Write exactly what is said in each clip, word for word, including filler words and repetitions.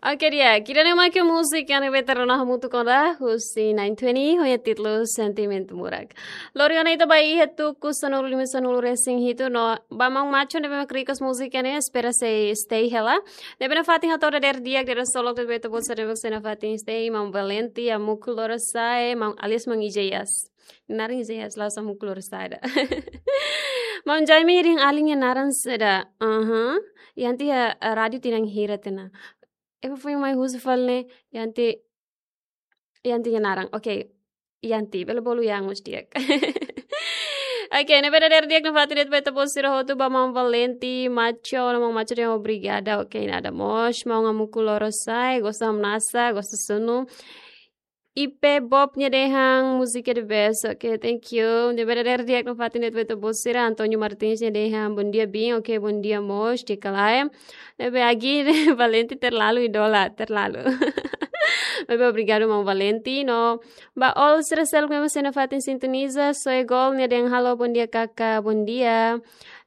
Oke, di'ak, ida-ne'e mak múzika ne'ebé ita rona hamutuk ona husi nine twenty, ho nia títulu Sentimentu Murak. Loron ohin ita ba iha tuku sanulu-lima, sanulu-resin-hitu, no ba maun Macho ne'ebé mak request múzika ne'e, espera sei stay hela. Ne'ebé nafatin hato'o dadeer di'ak, dadeer solok, dadeer beta bolsa, dadeer beta nafatin stay, maun Valenti, Amuku Lorosa'e, maun, alias maun Ijeias. Naran Ijeias, la'ós Amuku Lorosa'e ida. Maun Jaime, ida-ne'e alin nia naran saida? Aha. Yanti iha, eh, rádiu tinan hira tiha ona? Ema foin mai husu fali ne'e, Yanti, Yanti nia naran. Oke. Yanti, bele bolu Yang mós di'ak. Oke, ne'ebé dadeer di'ak nafatin de'it ba ita-boot sira hotu, ba maun Valenti, Macho, no maun Macho dehan obrigada. Oke, nada mós, maun Amuku Lorosa'e, gosta hamnasa, gosta sunu. Ipe Bob nia dehan múzika the best. Oke, thank you. Ne'ebé dadeer di'ak nafatin de'it ba ita-boot sira, Antonio Martins nia dehan bom dia, Bin. Oke, bom dia mós, di'ak ka lae. Ne'ebé Agi, Valenti terlalu idola, terlalu. Ne'ebé obrigadu maun Valenti, no ba all sira seluk ne'ebé sei nafatin sintoniza, Soe Gol nia dehan halo, bom dia kaka, bom dia.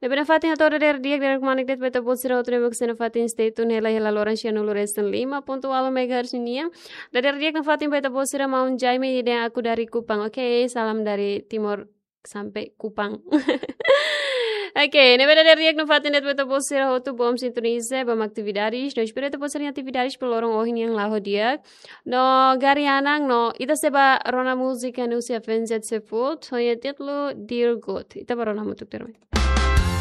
Ne'ebé nafatin hato'o dadeer di'ak, dadeer kmanek de'it ba ita-boot sira hotu ne'ebé sei nafatin stay tune hela, hela loron sianulu-resin-lima pontu ualu megahertz nian. Dadeer di'ak nafatin ba ita-boot sira, maun Jaime dehan aku dari Kupang. Oke, salam dari Timor sampai Kupang. Oke, ne'ebé dadeer di'ak nafatin de'it ba ita-boot sira hotu, bom sintoniza, bom atividades. No espera ita-boot sira-nia atividades ba loron ohin nian la'o di'ak. No Garianang, no ita sei ba rona múzika husi Avenged Sevenfold, ho nia títulu Dear God. Ita ba rona hamutuk terus.